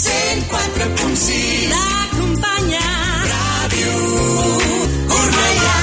104.6 l'acompanya Ràdio Cornellà.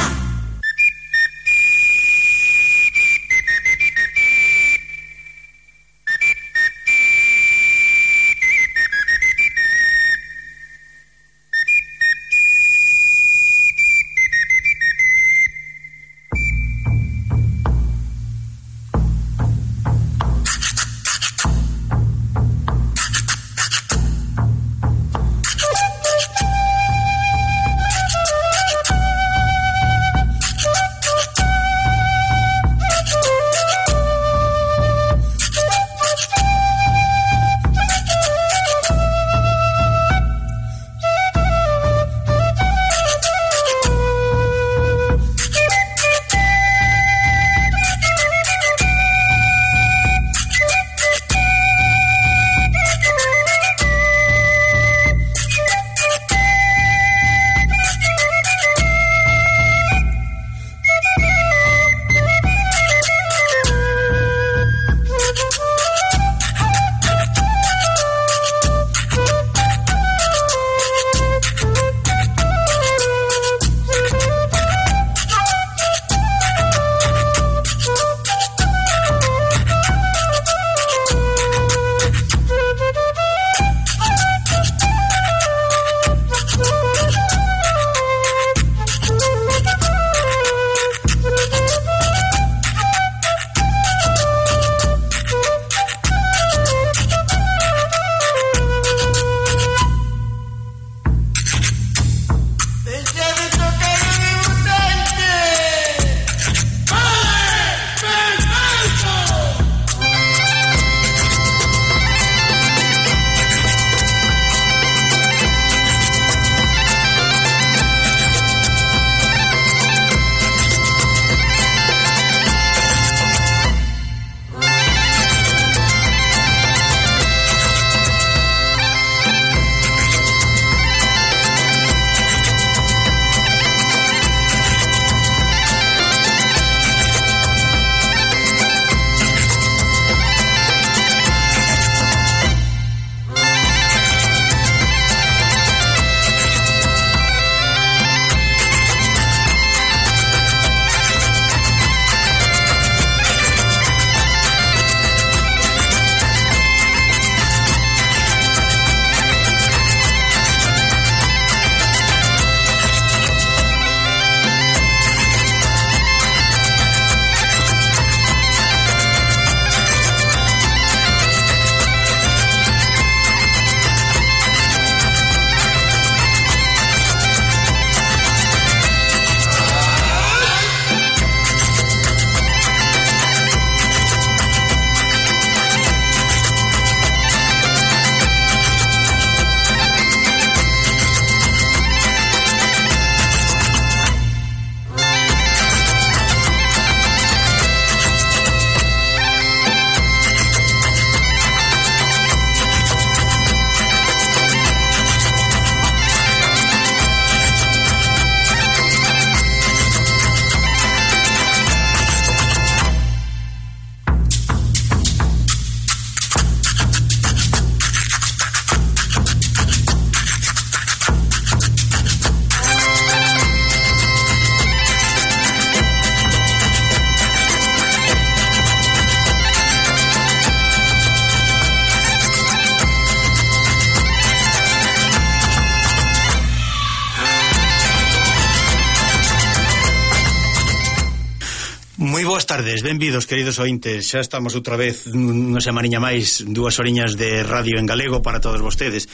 Moi boas tardes, benvidos, queridos ointes. Xa estamos outra vez unha semaniña máis, 2 horiñas de radio en galego para todos vostedes,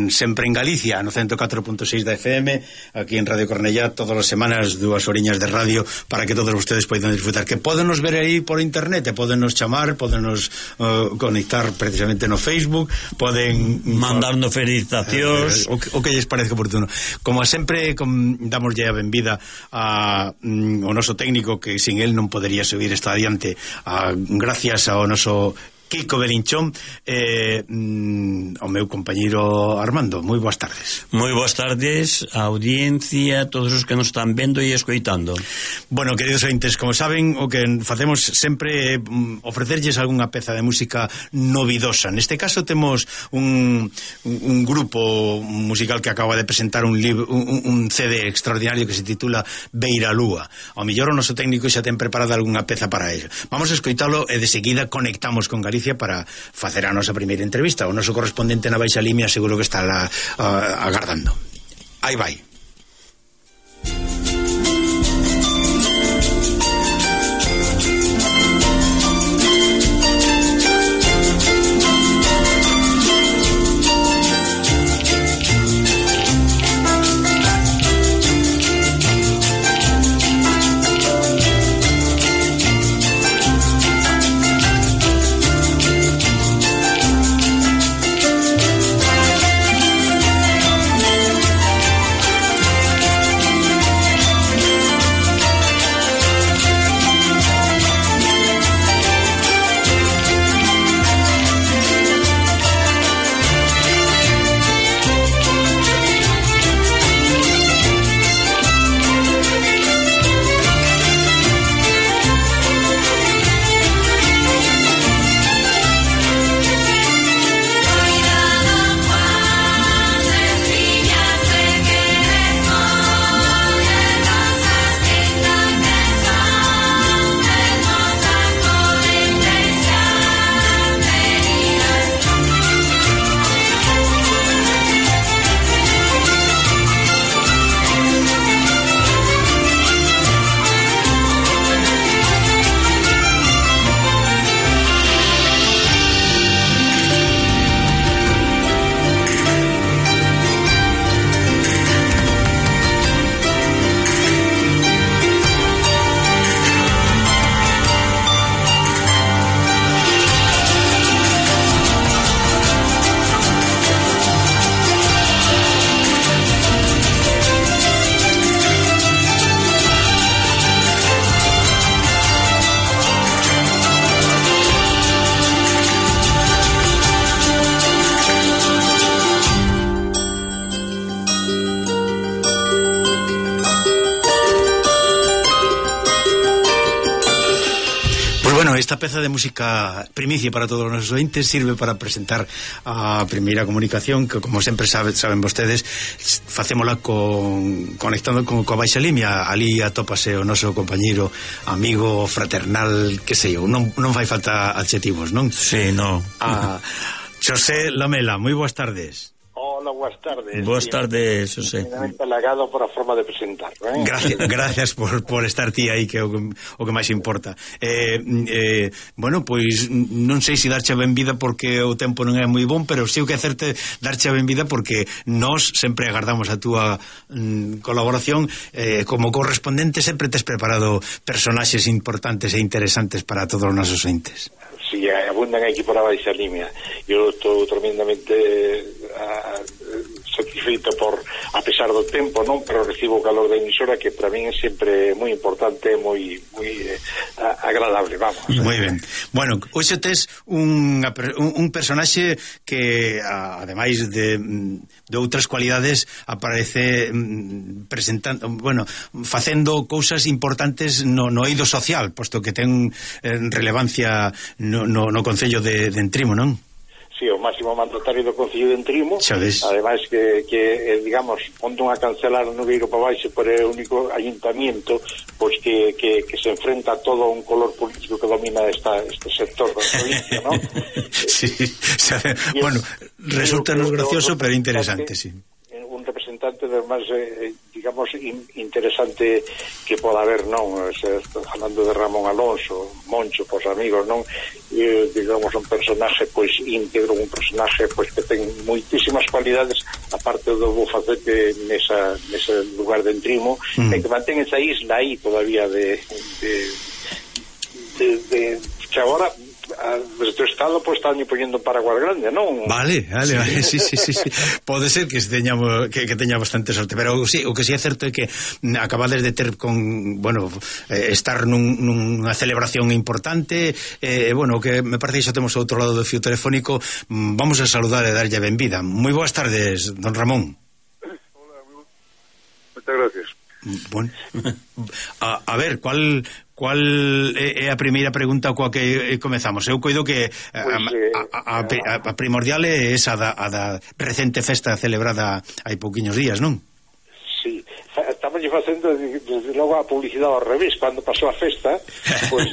sempre en Galicia, no 104.6 da FM, aquí en Radio Cornellá, todas as semanas 2 horiñas de radio para que todos vostedes poidan disfrutar, que podenos ver aí por internet, podenos chamar, podenos conectar precisamente no Facebook, poden mandarnos felicitacións, o que lles parece oportuno. Como sempre, damoslle a benvida a o noso técnico, que sin él non podería subir esta adiante, gracias ao noso Kiko Belinchón, o meu compañeiro Armando. Moi boas tardes. Moi boas tardes a audiencia, todos os que nos están vendo e escoitando. Bueno, queridos ointes, como saben, o que facemos sempre é ofrecerlles algunha peza de música novidosa. Neste caso temos un grupo musical que acaba de presentar un CD extraordinario que se titula Beira Lúa. Ao mellor o noso técnico xa ten preparada algunha peza para ello. Vamos a escoitalo e de seguida conectamos con Galicia para facer a nosa primeira entrevista. O noso correspondente na Baixa Limia seguro que está agardando. Aí vai. Esta peza de música primicia para todos os nosos ointes sirve para presentar a primeira comunicación que, como sempre saben vostedes, facémola conectando coa Baixa Limia. Ali atópase o noso compañeiro, amigo, fraternal, que sei eu, non fai falta adxetivos, non? Sí, non. Xosé Lamela, moi boas tardes. Hola, boas tardes. Boas tardes, José. Halagado por a forma de presentar, ¿eh? Gracias por estar ti aí, que é o que máis importa. Bueno, pois non sei se darche a benvida porque o tempo non é moi bon, pero sei o que hacerte darche a benvida porque nós sempre agardamos a túa colaboración. Como correspondente sempre tes preparado personaxes importantes e interesantes para todos os nosos entes. Sí, abundan aquí por a Baixa Limia. Eu estou tremendamente satisfeito a pesar do tempo, non, pero recibo o calor da emisora, que para min é sempre moi importante, moi agradable, vamos. Moi ben. Bueno, hoxe tes un personaxe que ademais de outras cualidades aparece presentando, bueno, facendo cousas importantes no eido social, posto que ten relevancia no Concello de Entrimo, non? Sí, o máximo mandatario do Concello de Entrimo. Ademais que digamos, onde a cancelar no Nogueiro para baixo, por é o único ayuntamiento pois que se enfrenta a todo un color político que domina este sector da provincia, non? Sí, bueno, resultanos gracioso, pero interesante, sí. Un representante de máis, digamos, interesante que poda haber, non? Falando de Ramón Alonso, Moncho, pois amigos, non? Digamos, un personaje pois íntegro, un personaje pois que ten moitísimas cualidades, aparte do bufacete nese lugar de Entrimo, e que mantén esa isla aí todavía de que agora desde o Estado pois están poñendo paraguas grande, non? Vale, sí. Pode ser que teña bastante sorte, pero sí, o que sí é certo é que acabades de ter estar nunha celebración importante, bueno, que me parece que xa temos outro lado do fío telefónico. Vamos a saludar e darlle a benvida. Moi boas tardes, don Ramón. Hola, moitas gracias. Bueno, a ver, cual é a primeira pregunta coa que comezamos? Eu coido que a primordial é esa da recente festa celebrada hai pouquiños días, non? Sí, estamos facendo desde logo a publicidade ao revés. Cando pasou a festa, pois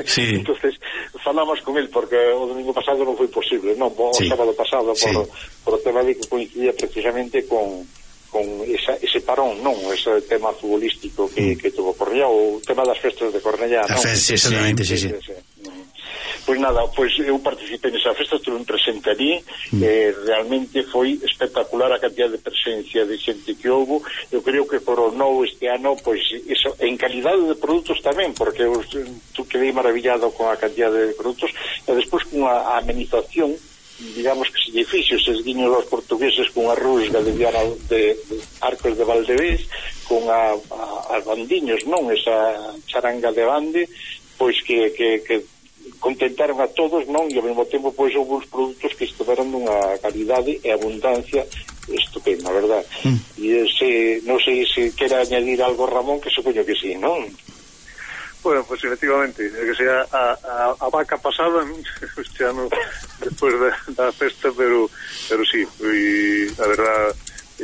sí. entonces falamos con el, porque o domingo pasado non foi posible, non, o sábado pasado, por o tema de que coincidía precisamente con ese parón, non, ese tema futbolístico que tuvo Cornellá, o tema das festas de Cornellá, non? Sí, exactamente, sí. Pois nada, pois eu participei nesa festa, estuve presente ali, realmente foi espectacular a cantidad de presencia de xente que houve. Eu creo que coronou este ano, pois, eso, en calidade de produtos tamén, porque eu quedei maravillado con a cantidad de produtos, e despois con a amenización, digamos que se lle fixo eses guiños aos portugueses con a rusga de Arcos de Valdevés, con as bandiños, non, esa charanga de bande, pois que contentaron a todos, non, e ao mesmo tempo pois houve uns produtos que estiveron dunha calidade e abundancia estupenda, verdad? E non sei se quera añadir algo, Ramón, que supoño que sí, non? Bueno, pues efectivamente, que sea a vaca pasada este ano despois da festa, pero sí, e a verdad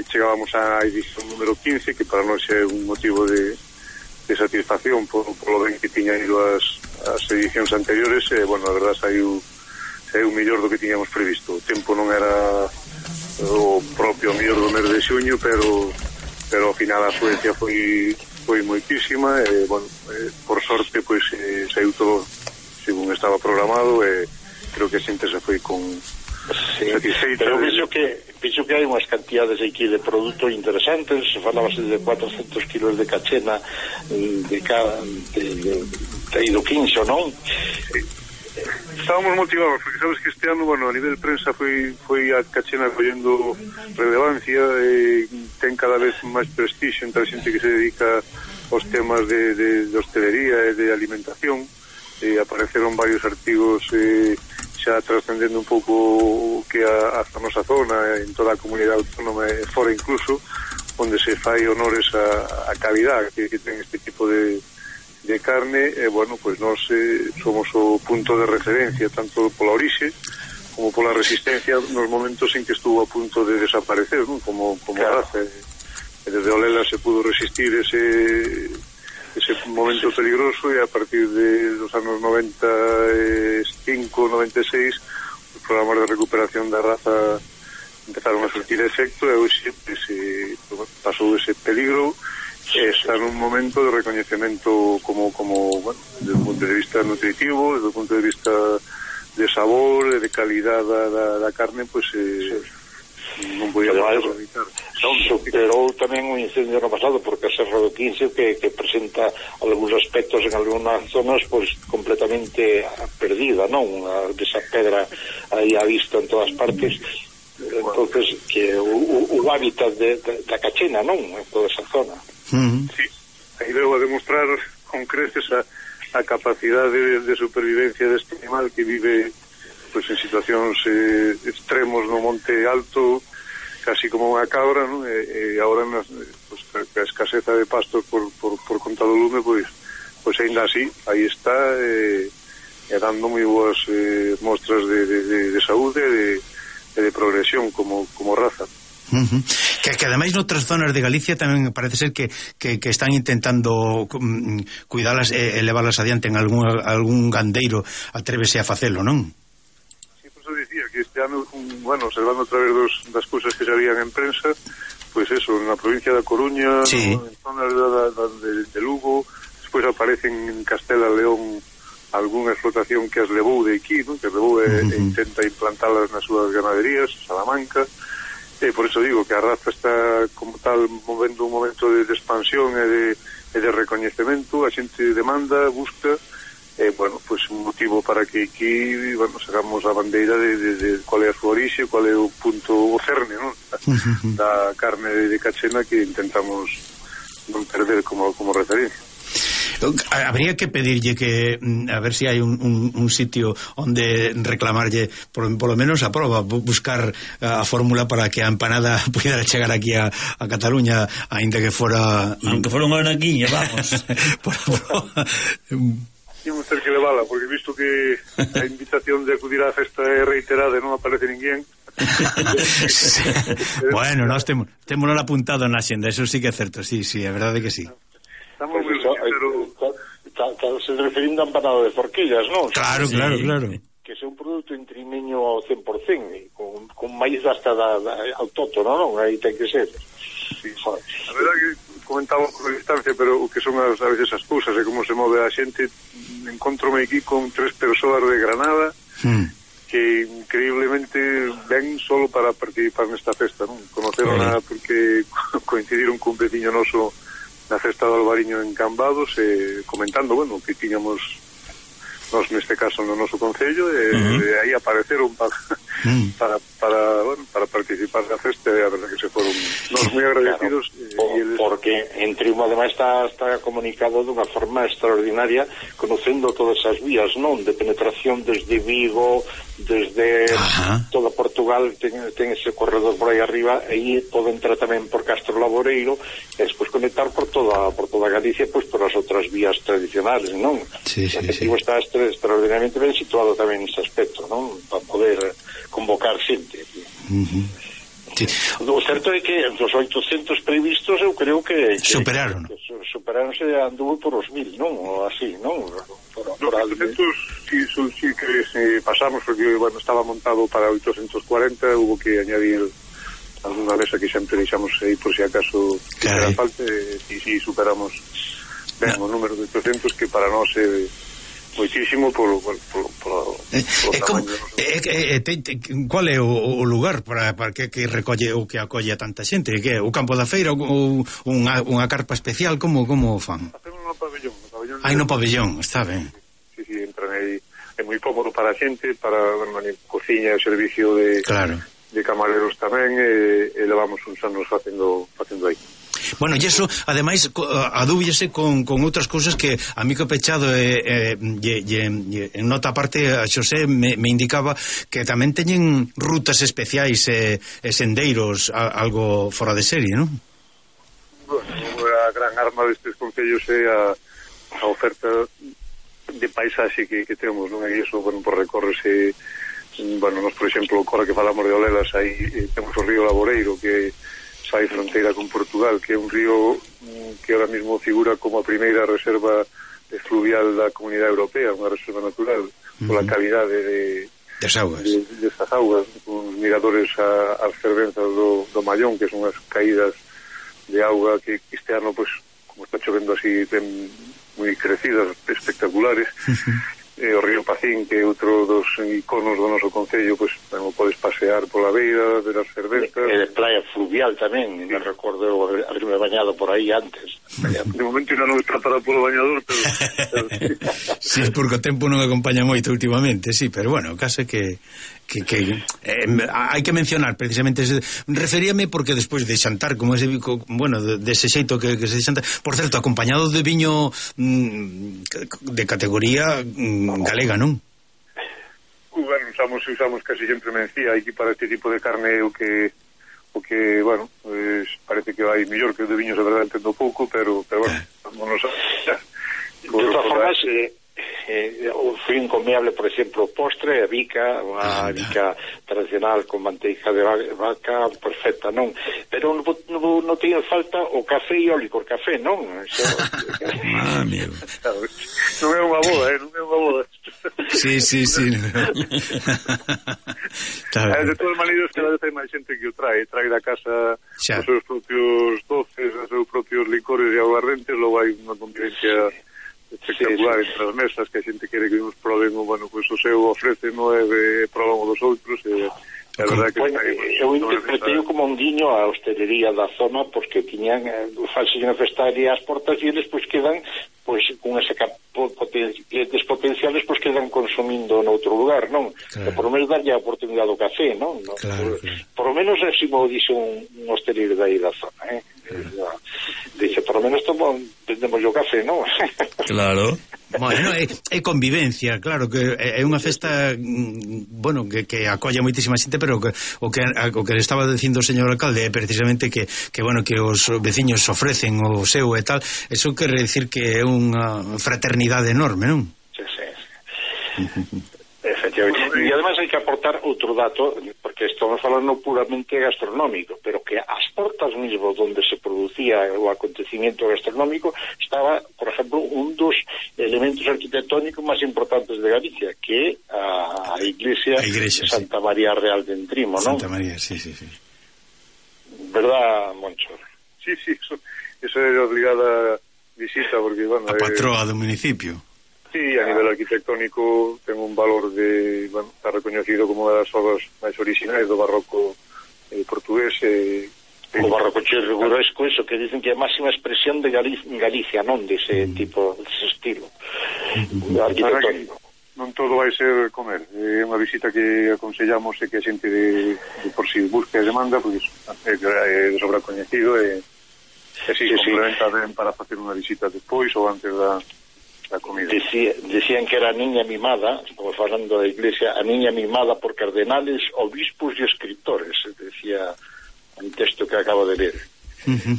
chegábamos á edición número 15, que para nós é un motivo de satisfacción por lo ben que tiña ido as edicións anteriores. Bueno, a verdad saiu mellor do que tiñamos previsto. O tempo non era o propio mellor do mes de xuño, pero ao final a afluencia foi moitísima, bueno, por sorte pois saiu todo según estaba programado, e creo que a xente se foi con satisfeita. Pero penso que hai unhas cantidades aquí de produto interesantes. Falábase de 400 kilos de cachena de ido 15, non? Estábamos motivados, porque sabes que este ano, bueno, a nivel prensa foi a cachena collendo relevancia, ten cada vez máis prestixio entre a xente que se dedica aos temas de hostelería e de alimentación. Apareceron varios artigos xa trascendendo un pouco que a nosa zona, en toda a comunidade autónoma e fora incluso, onde se fai honores a calidad que ten este tipo de carne. Bueno, pues nós somos o punto de referencia tanto pola orixe como pola resistencia nos momentos en que estuvo a punto de desaparecer, ¿no? como claro. Raza, e desde Olela se pudo resistir ese momento peligroso, e a partir de los anos 95, 96 os programas de recuperación da raza empezaron a surtir efecto, e hoxe pasou ese peligro. Está nun momento de recoñecemento como bueno, desde o punto de vista nutritivo, desde o punto de vista de sabor e de calidad da carne, pois non podía evitar. Superou tamén un incendio no pasado, porque a Serra do 15 que presenta algúns aspectos en algunhas zonas pois completamente perdida, non? Desa pedra aí á vista en todas partes. Entonces que o hábitat da cachena, non? En toda esa zona. Sí, aí veo a demostrar con creces a capacidade de supervivencia deste animal que vive pues en situacións extremos no monte alto, casi como unha cabra, ¿no? E agora pues, a escaseza de pastos por conta do lume, pues ainda así, aí está, dando moi boas mostras de saúde e de progresión como raza. Que ademais noutras zonas de Galicia tamén parece ser que están intentando cuidalas e levarlas adiante en algún gandeiro atrévese a facelo, non? Sí, por eso dicía que este ano, bueno, observando a través das cousas que se habían en prensa, pois eso, na provincia da Coruña, sí. En zonas de Lugo, despois aparecen en Castela León algunha explotación que as levou de aquí, ¿no? Que as levou e intenta implantalas nas súas ganaderías, Salamanca. Por eso digo que a raza está como tal movendo un momento de expansión e de recoñecemento. A xente demanda, busca, bueno, pues un motivo para que aquí, bueno, sacamos a bandeira de cual é a súa orixe, cual é o punto, o cerne, non? Da carne de cachena que intentamos non perder como referencia. Habría que pedirlle que a ver si hai un sitio onde reclamarlle por lo menos a proba, buscar a fórmula para que a empanada pudiera chegar aquí a Cataluña, aínda que fora aunque fora unha anaquiña, vamos. Tínhamos ter que levala, porque visto que a invitación de acudir á festa é reiterada e non aparece ninguén. Bueno, nós témolo apuntado na xenda, eso sí que é certo, sí, é verdade que sí. Estamos pues eso, pero se referindo a empanado de forquillas, non? Claro. Que é un produto intrimeño ao 100%, con maíz hasta autóctono, non? Aí ten que ser. Sí. A verdade que comentamos por distancia, pero o que son a veces as cousas e como se move a xente, encontrome aquí con 3 persoas de Granada que increíblemente ven solo para participar nesta festa, non? Conoceron porque coincidiron cun veciño noso na festa do Albariño en Cambados, comentando, bueno, que tiñamos nós neste caso no noso concello, e aí apareceron para participar da festa, e a verdade que se foron nós moi agradecidos. Claro, porque entre un ademais está comunicado dunha forma extraordinaria, conocendo todas as vías, non? De penetración desde Vigo, desde toda Portugal, ten ese corredor por aí arriba, e aí pode entrar tamén por Castro Laboreiro, e despois conectar por toda Galicia, pois por as outras vías tradicionales, non? Sí. Está extraordinariamente ben situado tamén nese aspecto, non? Para poder convocar xente. Sí. O certo é que dos 800 previstos eu creo que superaronse, anduvo por os 1000, non? Ou así, non? Por 800 sí que pasamos, porque bueno, estaba montado para 840, hubo que añadir alguna mesa que sempre deixamos aí por si acaso que era falta, e si superamos ben o número de 800, que para nós é moitísimo polo tamaño. Qual é o lugar para que recolle ou que acolle a tanta xente? Que é o campo da feira ou unha carpa especial? Como fan? Hacemos no pabellón. No pabellón, está ben. Sí, entran aí, é moi cómodo para a xente, para cociña e servicio de camareros tamén, e levamos uns anos facendo aí. Bueno, e iso, ademais, adúbllese con outras cousas que a mí que pechado en nota aparte a Xosé me indicaba que tamén teñen rutas especiais e sendeiros algo fora de serie, non? Bueno, a gran arma destes concellos é a oferta de paisaxe que temos, non? E iso, bueno, por recorrerse, bueno, nos, por exemplo, agora que falamos de Olelas, aí temos o río Laboreiro, que fai fronteira con Portugal, que é un río que ahora mismo figura como a primeira reserva fluvial da Comunidade Europea, unha reserva natural, pola calidade destas augas, con miradores ás fervenzas do Mallón, que son as caídas de auga que este ano, pues, como está chovendo así, ten moi crecidas, espectaculares. O río Pacín, que é outro dos iconos do noso concello, pois podes pasear pola beira, ver as fervenzas. E de playa fluvial tamén, me recordo haberme bañado por aí antes. De momento non está para polo bañador, pero sí, porque o tempo non acompaña moito últimamente, sí, pero bueno, o caso é que hai que mencionar precisamente referíame porque despois de xantar como ese, bueno, dese xeito que se xanta, por certo, acompañado de viño de categoría galega, non? Bueno, usamos casi sempre mencía aquí para este tipo de carne, o que bueno, pues, parece que vai mellor que o de viños, a verdade entendo pouco, pero bueno, vámonos a de todas formas, foi incomiable, por exemplo, o postre, a bica, unha bica tradicional con manteiga de vaca perfecta, non? Pero non teñen falta o café e o licor café, non? Amigo. Non é unha boda, non é unha boda. Sí. De todas maneiras, cada vez hai máis xente que o trae da casa os seus propios doces, os seus propios licores e aguardentes, logo hai unha convivencia espectacular entre as mesas, que a xente quere que nos proben, bueno, pues o seu ofrece, non é de proban o dos outros, e É verdade que bueno, eu interpretei como un guiño a hostelería da zona, porque tiñan false unha festaria ás portas e eles pois quedan pois con ese clientes potenciales pois quedan consumindo noutro lugar, non? Claro. Por lo menos darlle a oportunidade do café, non? Claro. Por lo menos así mo dixo un hostelero de aí da zona, dice, por lo menos vendemos o café, non? Claro. Bueno, é convivencia, claro, que é unha festa, bueno, que acolla moitísima xente, pero o que estaba dicindo o señor alcalde é precisamente que bueno, que os veciños ofrecen o seu e tal, eso quere decir que é unha fraternidade enorme, non? Sí. Efectivamente. E además hai que aportar outro dato, porque estamos falando puramente gastronómico, pero que as portas mismo donde se producía o acontecimiento gastronómico estaba, por ejemplo, un dos elementos arquitectónicos máis importantes de Galicia, que é a iglesia de Santa María Real de Entrimo, non? Santa María, sí. Verdad, Moncho? Sí, eso é obligada visita, porque, bueno... A patroa do municipio. Sí, a nivel arquitectónico ten un valor de, bueno, está reconocido como unha das obras máis originais do barroco portugués. O barroco chirriguresco, eso que dicen que é a máxima expresión de Galicia, non dese tipo, dese estilo arquitectónico. Non todo vai ser comer, é unha visita que aconsellamos e que a xente de por si busca e demanda, porque é de sobra coñecido e si complementa ben para facer unha visita despois ou antes da comida. Decían que era a niña mimada, estamos falando da iglesia, a niña mimada por cardenales, obispos e escritores, decía un texto que acabo de ler.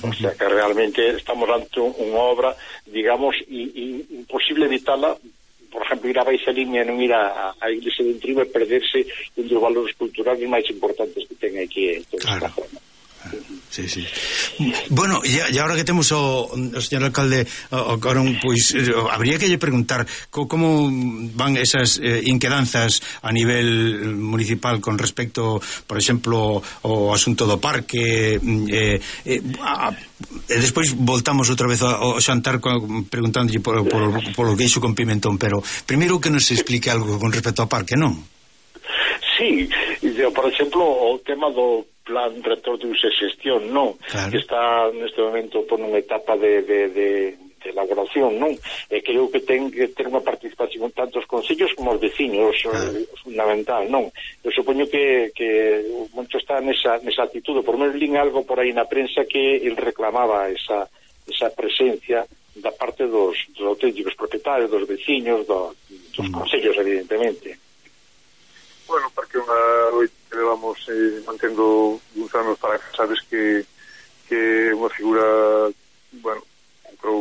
O sea que realmente estamos ante unha obra, digamos, imposible evitarla, por exemplo, ir a baixa línea e non ir a iglesia de Entrimo e perderse un dos valores culturales máis importantes que ten aquí en toda esta zona. Sí. Bueno, e agora que temos o señor alcalde Corón, pois habría que lle preguntar como van esas inquedanzas a nivel municipal con respecto, por exemplo, ao asunto do parque, e despois voltamos outra vez ao xantar preguntándolle polo queixo con pimentón, pero primeiro que nos explique algo con respecto ao parque, non? Sí, por exemplo, o tema do plan rector de uso e xestión, non? Claro. Que está neste momento por unha etapa de elaboración, non? E creo que ten que ter unha participación tanto os concellos como os veciños, fundamental, non? Eu supoño que o Moncho está nesa actitude, por menos lín algo por aí na prensa que el reclamaba esa presencia da parte dos auténticos propietarios, dos veciños, dos concellos, evidentemente. Bueno, porque hoy que levamos mantendo uns anos para que sabes que unha figura, bueno,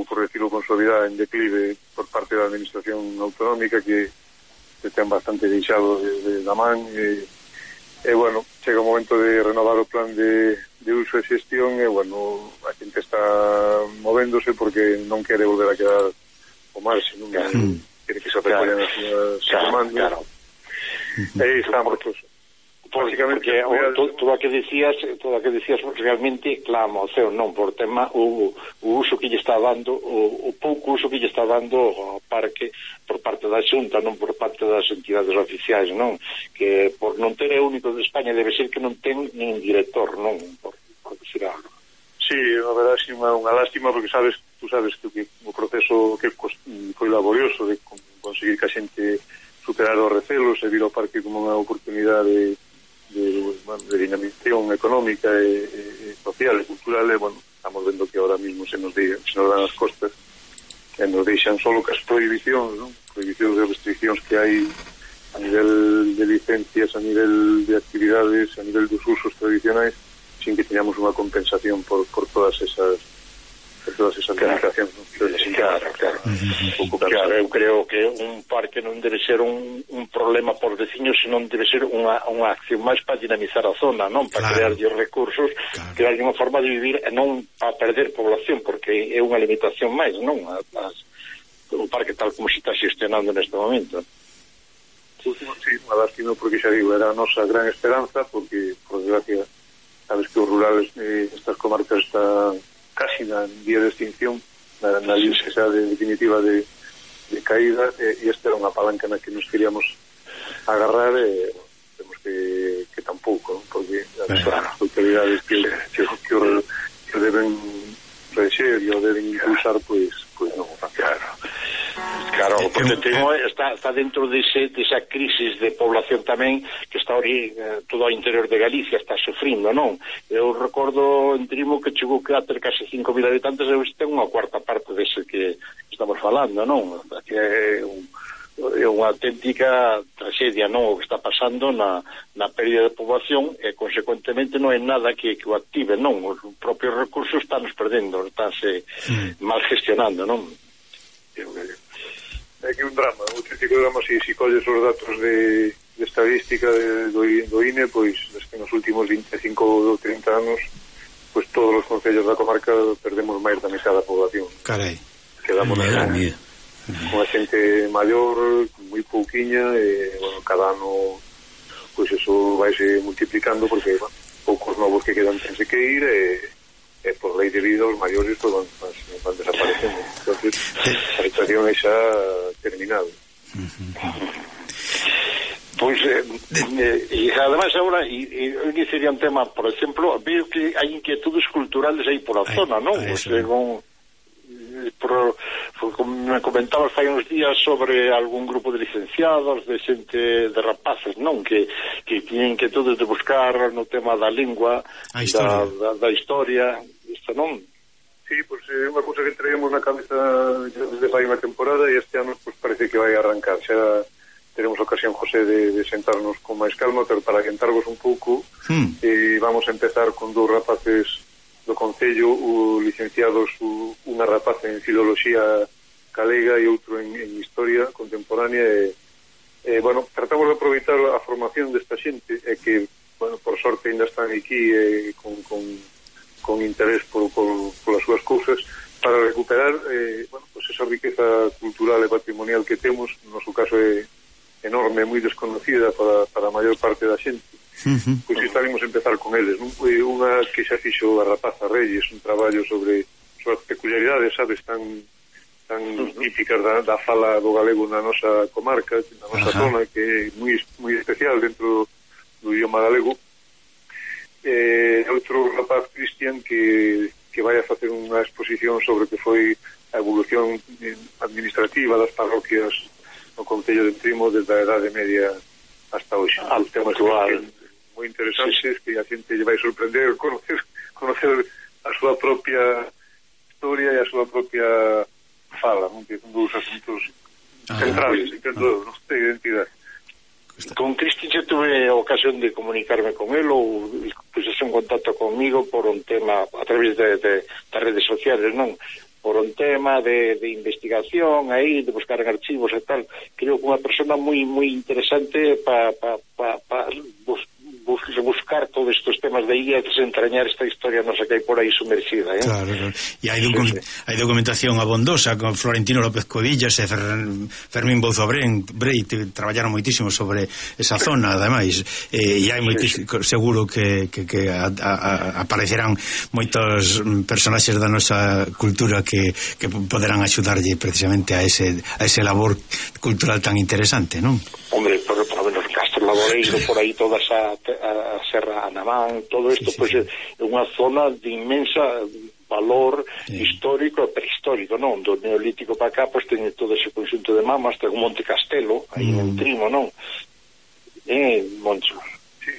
por decirlo con suavidade, en declive por parte da administración autonómica que ten bastante deixado da man e bueno, chega o momento de renovar o plan de uso e xestión e bueno, a xente está movéndose porque non quere volver a quedar o marxe, non quere que se recollen as súas demandas. Claro. Aí estamos, porque todo a que decías realmente clama ao ceo, non por tema o uso que lle está dando, o pouco uso que lle está dando ao parque por parte da Xunta, non por parte das entidades oficiais, non? Que por non ter é único de España debe ser que non ten nin director, non? Por decir algo. Sí, a verdade é unha lástima porque tú sabes que o proceso que foi laborioso de conseguir que a xente superar os recelos e vir ao parque como unha oportunidade de dinamización económica e social e cultural e, bueno, estamos vendo que ahora mismo se nos dan as costas e nos deixan solo que as prohibicións, non? Prohibicións e restriccións que hai a nivel de licencias, a nivel de actividades, a nivel dos usos tradicionais, sin que teñamos unha compensación por todas esas limitacións. Claro. Claro, eu creo que un parque non debe ser un problema por veciños, senón debe ser unha acción máis para dinamizar a zona, non? Para crear recursos, crear unha forma de vivir e non para perder población, porque é unha limitación máis, non? O parque tal como se está xestionando neste momento. Sí, unha lástima porque xa digo, era a nosa gran esperanza, porque, por desgracia, sabes que os rurales estas comarcas están casi na vía de extinción, na línea definitiva de caída, e esta era unha palanca na que nos queríamos agarrar e temos que tampouco, porque as autoridades que o deben rexer e o deben impulsar, pois non o fan. Claro, porque está dentro desa crisis de población tamén que está todo ao interior de Galicia está sufrindo, non? Eu recordo en Trimo que chegou a ter case 5.000 habitantes e hoxe ten unha cuarta parte dese que estamos falando, non? Que é unha auténtica tragedia, non? O que está pasando na pérdida de poboación e, consecuentemente, non é nada que o active, non? Os propios recursos estánnos perdendo, estánse mal gestionando, non? É que un drama, un auténtico drama. Se colles os datos de estadística do INE, pois que nos últimos 25 ou 30 anos, pois todos os concellos da comarca perdemos máis da metade da población. Carai. Quedamos con a xente maior, moi pouquiña, e, bueno, cada ano pois eso vaise multiplicando, porque, bueno, poucos novos que quedan tense que ir, e por lei de vida os maiores pues, van desaparecendo. Entonces a situación é xa terminada. Pois e además agora eu sería un tema, por exemplo, veo que hai inquietudes culturales aí por a zona, non? Según como me comentabas fai uns días sobre algún grupo de licenciados, de xente de rapaces, non? Que tiñen inquietudes de buscar no tema da lingua, da historia, isto non? Sí, pois é unha cousa que traemos na cabeza desde fai unha temporada, e este ano pois parece que vai arrancar. Xa teremos ocasión, José, de sentarnos con máis calma, pero para adiantarvos un pouco, vamos a empezar con dous rapaces do Concello, licenciados, unha rapaza en Filoloxía Galega e outro en Historia Contemporánea, e bueno, tratamos de aproveitar a formación desta xente, e que, bueno, por sorte ainda están aquí con interés polas súas cousas, para recuperar bueno, pues esa riqueza cultural e patrimonial que temos. No noso caso é enorme, moi desconocida para a maior parte da xente. Pois estaremos a empezar con eles, non? Unha que xa fixo a rapaza Reyes, un traballo sobre as peculiaridades, sabes, tan típicas da fala do galego na nosa comarca, na nosa zona, que é moi especial dentro do idioma galego. Outro rapaz, Cristian, que vai a facer unha exposición sobre que foi a evolución administrativa das parroquias no Concello de Trimo desde a Edade Media hasta hoxe. Temas moi interesantes, que a xente lle vai sorprender conocer a súa propia historia e a súa propia fala, non? Que son dous asuntos centrales dentro da nosa identidade. Con Cristian xa tuve a ocasión de comunicarme con él, ou puxese en contacto conmigo por un tema a través das redes sociales, non? Por un tema de investigación aí, de buscar en archivos e tal. Creo que unha persona moi interesante para buscar todos estes temas de aí e desentrañar esta historia nosa que hai por aí sumerxida, Claro. E hai documentación abondosa con Florentino López Covillas e Fermín Bouzo Breit traballaron moitísimo sobre esa zona, ademais, e hai seguro que aparecerán moitos personaxes da nosa cultura que poderán axudarlle precisamente a ese labor cultural tan interesante, non? Hombre, por lo menos Laboreiro, por aí toda a Serra Anamán, todo isto pois é unha zona de inmensa valor histórico e prehistórico, non? Do Neolítico para cá, pois teñe todo ese conxunto de mamas, ten un Monte Castelo aí en Trimo, non? Moncho. Sí,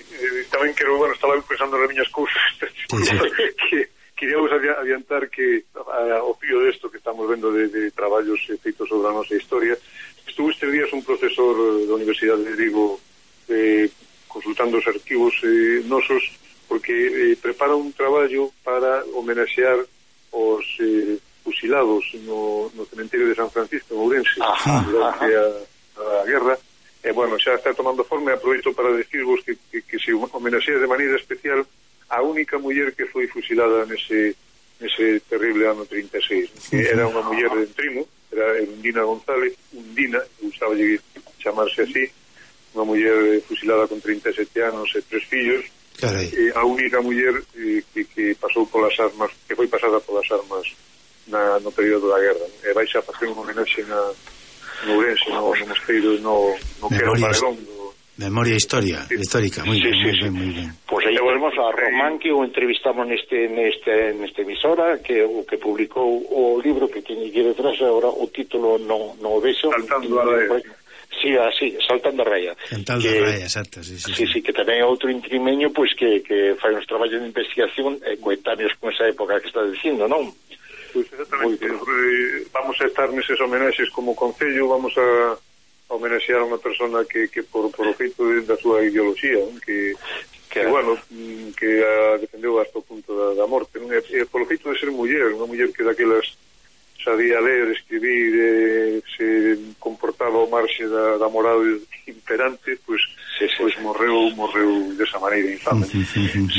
tamén quero, estaba pensando nas miñas cousas que queríamos adiantar que ao fío desto que estamos vendo de traballos feitos sobre a nosa historia, estuvo estes días un profesor da Universidade de Vigo consultando os arquivos nosos, porque prepara un traballo para homenaxear os fusilados no cementerio de San Francisco en Ourense durante a guerra, e xa está tomando forma. E aproveito para decirvos que se homenaxea de maneira especial a única muller que foi fusilada nese terrible ano 36, que era unha muller de Trimo, era Undina González, gustaba chamarse así, unha muller fusilada con 37 anos e 3 fillos. A única muller que pasou polas armas, que foi pasada polas armas no período da guerra, e vai xa facer un homenaxe no Ourense, no mosteiro, no que era o padrón Memoria histórica, moi ben. Pois aí volvemos a Román, que o entrevistamos nesta emisora, que o que publicou o libro que tiñe aquí detrás, agora o título non o vexo. Saltando a raya. Sí, así, Saltando a raya. Saltando a raya, exacto, sí. Sí, que tamén é outro intrimeño, pois que fai uns traballos de investigación coetáneos con esa época que está dicindo, non? Pois exactamente, vamos a estar neses homenaxes como concello, vamos a homenaxear a unha persona que por o feito da súa ideoloxía, que bueno, que a defendeu hasta o punto da morte, non? E por o feito de ser muller, unha muller que daquelas sabía ler, escribir, se comportaba ao marxe da moral imperante, pois morreu desa maneira infame.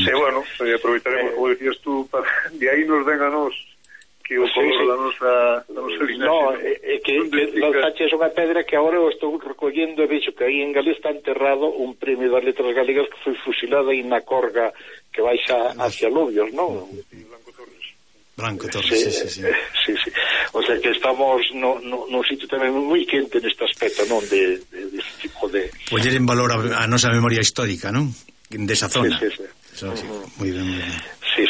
Bueno, aproveitaremos, como decías tú, de aí nos ven a nós que o color da nosa linaxe. No, é que lanzache é unha pedra que agora eu estou recollendo e vexo que aí en Galicia está enterrado un premio das letras galegas que foi fusilado aí na Corga que baixa hacia Lobios, non? Blanco Torres, sí. O sea que estamos no sitio tamén moi quente neste aspecto, non? De tipo de... Poñer en valor a nosa memoria histórica, non? Desa zona. Sí. Moi ben. Sí.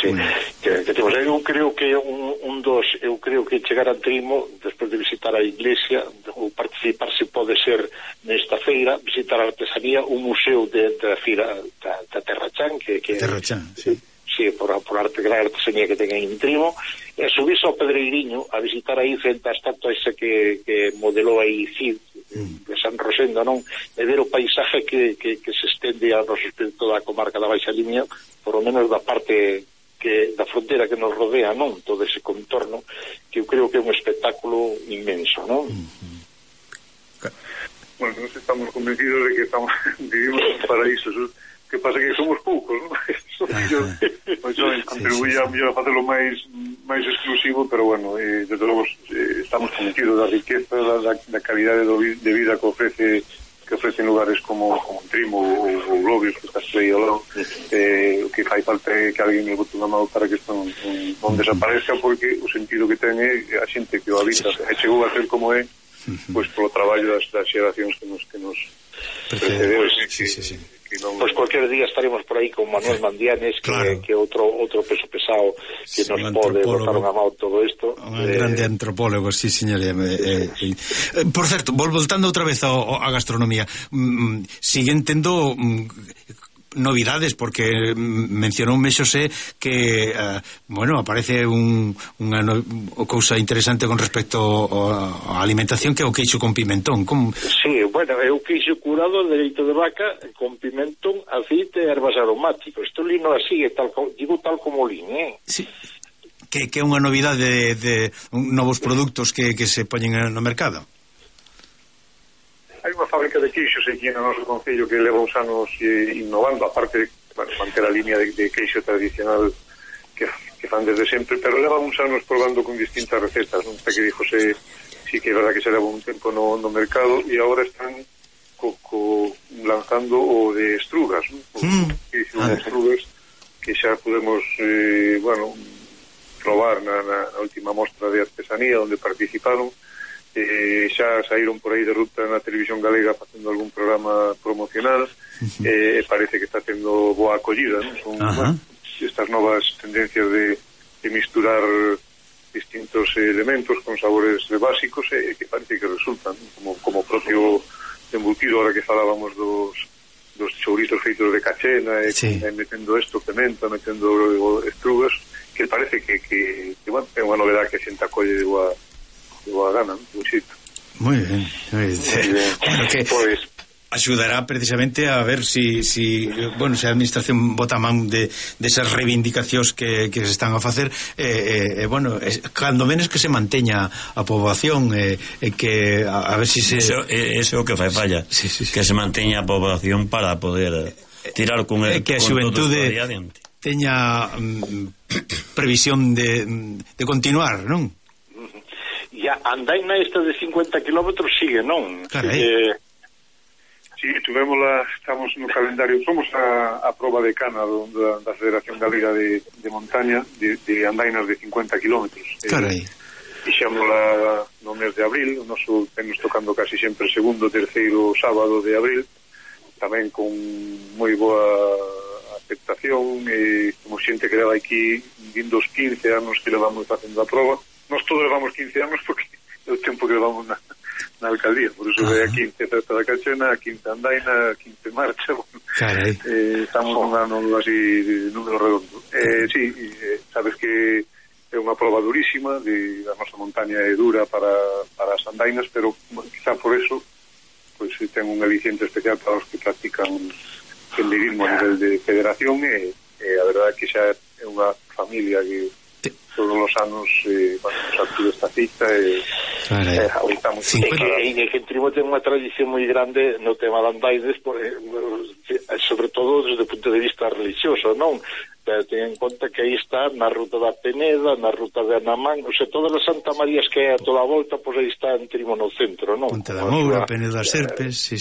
Eu creo que eu creo que chegar a Trimo despois de visitar a iglesia ou participar, se pode ser nesta feira, visitar a artesanía, un museo da feira da Terrachán Terrachán, sí. Sí, por arte, gran artesanía que ten en Trimo, e subirse ao Pedreiriño a visitar aí frente a estatua esa que modelou aí Cid de San Rosendo, non? E ver o paisaje que se estende a toda a comarca da Baixa Limia, por lo menos da parte da frontera que nos rodea, non? Todo ese contorno, que eu creo que é un espectáculo inmenso, non? Bueno, nos estamos convencidos de que vivimos en un paraíso, que pasa que somos poucos, non? Contribuye a mellor a facelo máis exclusivo, pero bueno, desde logo estamos convencidos da riqueza, da calidade de vida que ofrecen lugares como Trimo ou Lobios, que está aí ao lado. O que fai falta é que alguén me bote unha mão para que isto non desaparezca, porque o sentido que ten é a xente que o habita, e chegou a ser como é, pois polo traballo das xeracións que nos precedeu. Sí. Pois cualquier día estaremos por aí con Manuel Mandianes, que outro peso pesado que nos pode botar unha mão todo isto. Un grande antropólogo, sí, señor. Por certo, voltando outra vez a gastronomía, siguen tendo novidades, porque mencionoume Xosé que aparece unha cousa interesante con respecto á alimentación, que é o queixo con pimentón. Sí, bueno, é o queixo curado de leite de vaca con pimentón, aceite e ervas aromáticos. Isto lino así, tal como lin, Sí. Que é unha novidade de novos produtos que se poñen no mercado. Hai unha fábrica de queixos aquí no noso concello que leva uns anos innovando, aparte de manter a línea de queixo tradicional que fan desde sempre, pero leva uns anos probando con distintas recetas. Non sei que dijo sí que é verdad que se leva un tempo no mercado, e agora están lanzando o de estrugas, non? Queixo de estrugas que xa podemos probar na última mostra de artesanía onde participaron. Xa saíron por aí de ruta na televisión galega facendo algún programa promocional, e parece que está tendo boa acollida, non? Son estas novas tendencias de misturar distintos elementos con sabores básicos, e que parece que resultan, como propio embutido, ahora que falábamos dos chourizos feitos de cachena, metendo pimenta, metendo estrugas, que parece que é unha novedade que a xente acolle de boa gana, un xito. Moi ben. Bueno, que axudará precisamente a ver si a administración bota a man de esas reivindicacións que se están a facer, cando menos que se manteña a poboación, que a ver si se... Eso é o que fai falla, que se manteña a poboación para poder tirar con que a xuventude teña previsión de continuar, non? E a andaina esta de 50 kilómetros sigue, non? Carai. Sí, estamos no calendario, somos a proba de cana da Federación Galega de Montaña de andainas de 50 kilómetros. Carai. Fixámola no mes de abril, nos tocando casi sempre segundo, terceiro sábado de abril, tamén con moi boa aceptación, como xente que leva aquí vindo os 15 anos que levamos facendo a prova. Nós todos levamos 15 anos porque é o tempo que levamos na alcaldía, por iso é a 15 Festa da Cachena, a 15 Andaina, a 15 Marcha. Carai. Estamos un ano así de número redondo. Sí, sabes que é unha prova durísima, a nosa montaña é dura para as andainas, pero quizá por eso pois ten un aliciente especial para os que practican senderismo a nivel de federación, e a verdade é que xa é unha familia que todos os anos nos acude esta cita e aguantamos. E que en Trimo ten unha tradición moi grande no tema de andaides, sobre todo desde o punto de vista religioso, non? Ten en conta que aí está na ruta da Peneda, na ruta de Anamán, o sea, todas as Santa Marías que hai a toda a volta, pois aí está en Trimo no centro, non? Ponte da Moura, Peneda das Serpes, sí.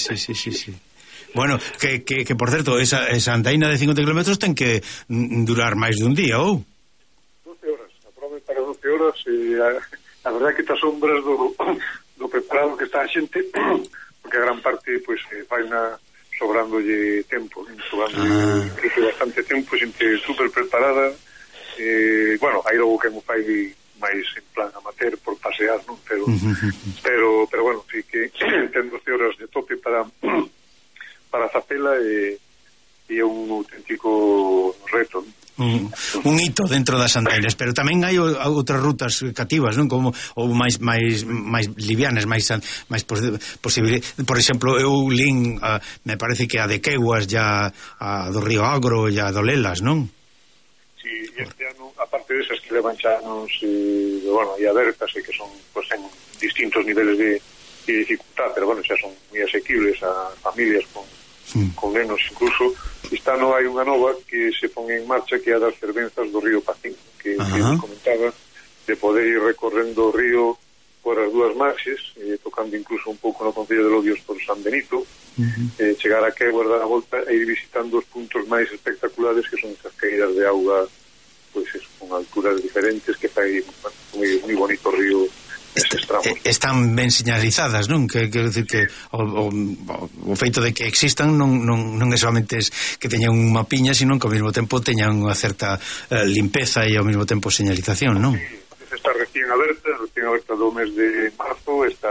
Bueno, que por certo, esa andaina de 50 km ten que durar máis dun día, ou? 12 horas, a prova é para 12 horas, e a verdade é que te asombras do preparado que está a xente, porque a gran parte, pois, vai sobrándolle tempo, incluso bastante tempo, xente super preparada, bueno, hai logo que mo fai máis en plan amateur por pasear, non? Pero bueno, sí que ten 12 horas de tope para facela, e é un auténtico reto, non? Un hito dentro das andainas, pero tamén hai outras rutas cativas, non? Como ou máis livianas, máis posible. Por exemplo, eu lin, me parece que a de Queguas, ya a do Río Agro, ya a do Lelas, non? Sí, este ano, aparte desas que levan xa anos, bueno, e abertas, e que son, pues, en distintos niveles de dificultad, pero bueno, xa son moi asequibles a familias con nenos incluso. Este ano hai unha nova que se pon en marcha, que é a das fervenzas do río Pacín, que comentaba, de poder ir recorrendo o río por as dúas marxes, tocando incluso un pouco no Concello de Lodios por San Benito, chegar a Queguas, dar a volta e ir visitando os puntos máis espectaculares, que son estas caídas de auga, pois con alturas diferentes, que fai moi bonito o río. Están ben señalizadas, non? Quero dicir que o feito de que existan non é solamente que teñan un mapiña, sino que ao mesmo tempo teñan unha certa limpeza e ao mesmo tempo señalización, non? Sí, está recién aberta do mes de marzo, está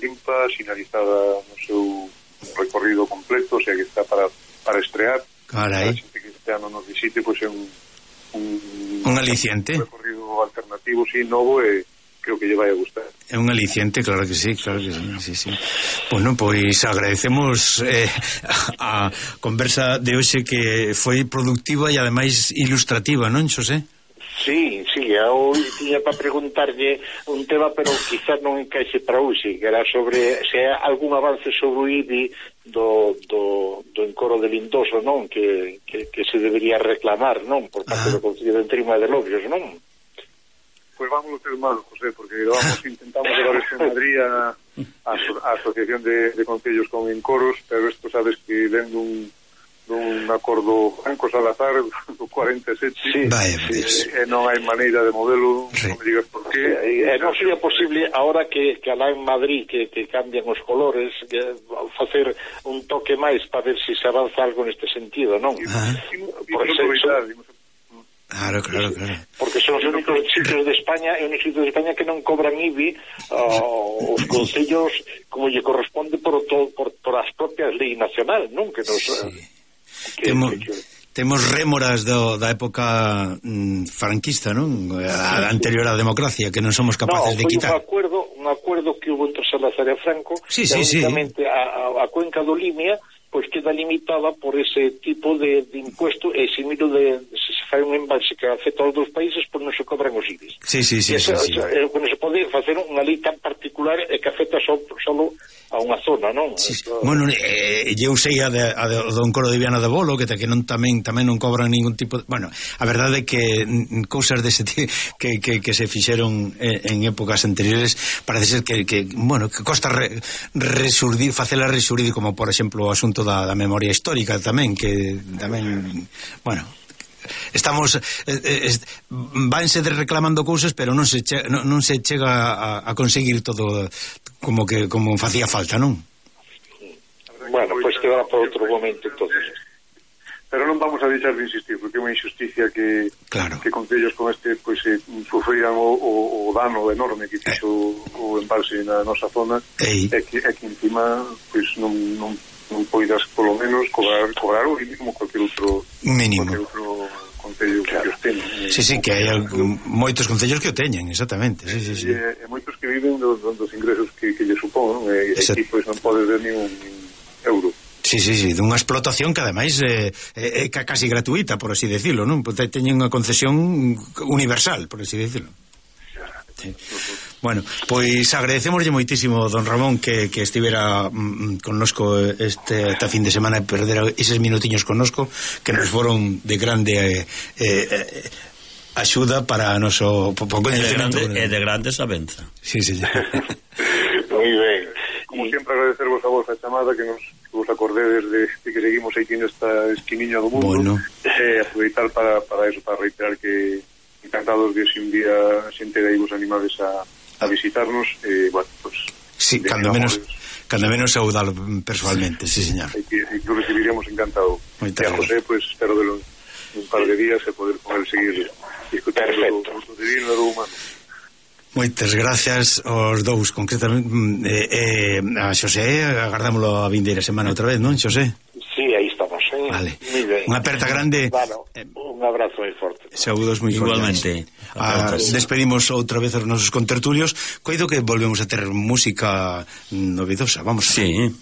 limpa, sinalizada no seu recorrido completo, o sea que está para estrear. Carai. A xente que este ano nos visite, pois é un aliciente, un recorrido alternativo, sí, novo, e creo que lle vai a gustar. É un aliciente, claro que sí. Bueno, pois agradecemos a conversa de hoxe, que foi productiva e ademais ilustrativa, non, Xosé? Sí, eu tiña para preguntarlle un tema, pero quizás non encaixe para hoxe, que era sobre se hai algún avance sobre o IBI do encoro de Lindoso, non? Que se debería reclamar, non? Por parte do Concello de Trimo e de Lodios, non? Pois vamos a ter mal, José, porque intentamos levar isto en Madrid a Asociación de Concellos con Encoros, pero isto sabes que dentro dun acordo Franco Salazar do 47, non hai maneira de modelo, non me digas por qué. Non sería posible, ahora que alá en Madrid que cambian os colores, facer un toque máis para ver se avanza algo neste sentido, non? Claro. Porque son os únicos sitios de España que non cobran IBI os concellos como lle corresponde por as propias leis nacional, non? Que nos temos rémoras da época franquista, non? A anterior á democracia, que non somos capaces de quitar. Un acuerdo que hubo entre Salazar e Franco, únicamente a cuenca do Limia pois queda limitada por ese tipo de impuesto, e se miro se fai un embalse que afecta aos dos países, pois non se cobran os IBIs. Sí. Non se pode facer unha lei tan particular e que afecta solo a unha zona, non? Bueno, eu sei a do encoro de Viana de Bolo, que tamén non cobran ningún tipo de... Bueno, a verdade é que cousas dese tipo que se fixeron en épocas anteriores, parece ser que costa facela resurdir, como por exemplo o asunto da memoria histórica tamén, que tamén, bueno, estamos vanse reclamando cousas, pero non se chega a conseguir todo como facía falta, non? A verdade Bueno, pois quedará por outro momento entonces. Pero non vamos a deixar de insistir, porque é unha injusticia que concellos como este pois sufriran o dano enorme que fixo o embalse na nosa zona, e que encima pois non poidas polo menos cobrar o mínimo cualquier outro concello que os teñen. Sí, que hai moitos concellos que o teñen, exactamente. Sí. E moitos que viven dos ingresos que lle supón, e aquí pois non podes ver nin un euro. Sí, dunha explotación que ademais é casi gratuita, por así decirlo, non? Teñen unha concesión universal, por así decirlo. Sí. Bueno, pois agradecémoslle moitísimo, don Ramón, que estivera connosco este fin de semana e perdera eses minutiños connosco, que nos foron de grande axuda para noso coñecemento. E de grande sabenza. Sí. Moi ben. Como sempre, agradecervos a vos a chamada, que vos acordedes de que seguimos aquí nesta esquiniña do mundo. Aproveitar para eso, para reiterar que encantados de si un día xente de aí vos animades a visitarnos, bueno, pues sí, cando menos saudalo personalmente, sí, señor. Que lo recibiríamos encantado. E a José, pues espero verlo un par de días e poder seguir discutindo do divino e do humano. Moitas gracias aos dous, concretamente a Xosé, agardámoslo a vindeira semana outra vez, non, Xosé? Sí, aí estamos, Vale. Unha aperta grande. Bueno, un abrazo moi forte. Saúdos moi fortes. Igualmente. Despedimos outra vez aos nosos contertulios. Coido que volvemos a ter música novedosa. Vamos a ver. Sí.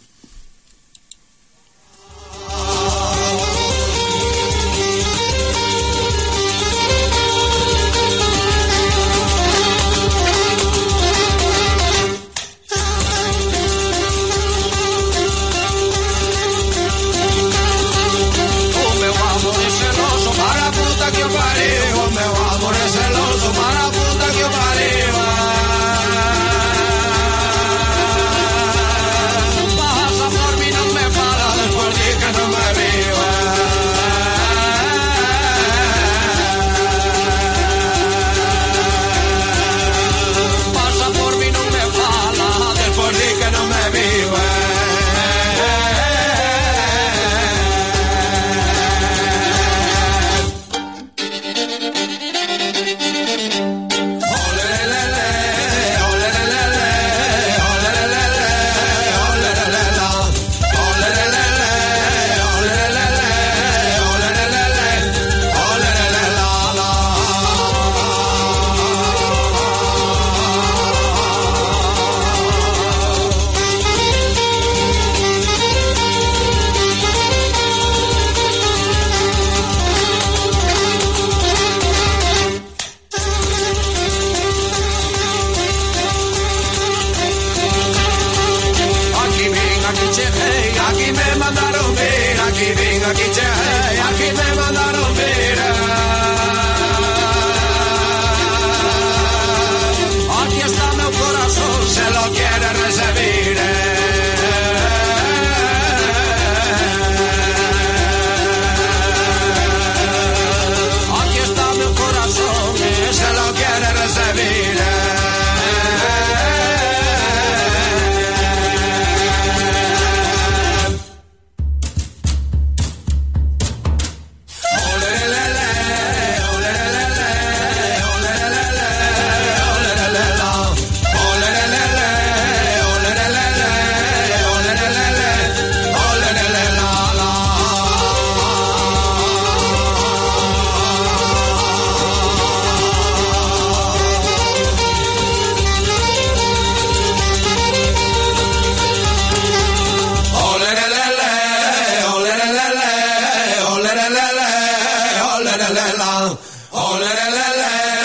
Oh, la la la,